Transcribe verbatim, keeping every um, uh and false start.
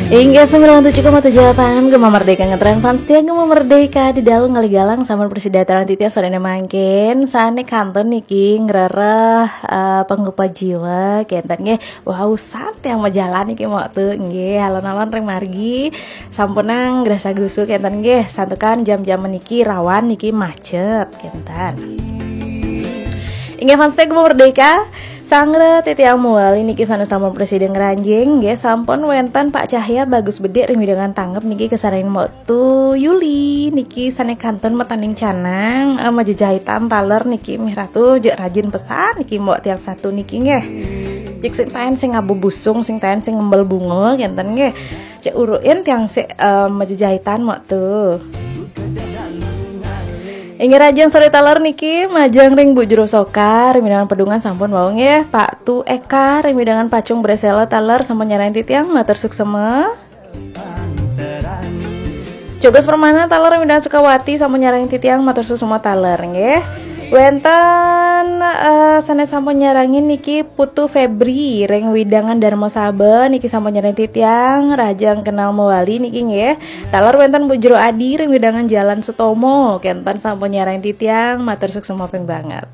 Inggih sembilan tujuh koma tujuh F M Gema Merdeka ngetren fans setia Gema Merdeka di dalam kali galang sama persidataran titian sore mangkin sane kantun niki ngrereh eh, penggupa jiwa kenten nggih. Wau santai yang majalan niki waktu nggih alon-alon ring margi sampunang grasa grusu kenten nggih santukan jam-jam niki rawan niki macet kenten. Inggih fans setia Gema Merdeka. Sangre titiang muali niki sanes sampun presiden ngranjing nggih sampun wenten Pak Cahya bagus bedik ring widangan tanggep niki kesaring Mbok Tu Yuli niki sane kantun metaning canang eh, majejahitan taler niki mih ratu jek rajin pesan niki Mbok tiang satu niki nggih. Jek sing taen sing ngabubusung sing taen sing ngembel bunga kenten nggih. Cek uruin tiang sik eh, majejahitan Mbok Tu. Inggih rajang sore taler niki majang ring Bu Jero Soka ring widangan pedungan sampun wau nggih Pak Tu Eka ring widangan pacung bresela taler sampun nyarang titiang matur suksema. Jogos Permana taler ring widangan Sukawati sampun nyarang titiang matur suksema taler nggih. Wenten eh, sane sampun nyarangin niki Putu Febri ring widangan Dharma Saba niki sampun nyarang titiang rajang kenal mewali niki nggih. Taler wenten Bu Jero Adi ring widangan Jalan Sutomo kenten sampun nyarang titiang matur suksema ping banget.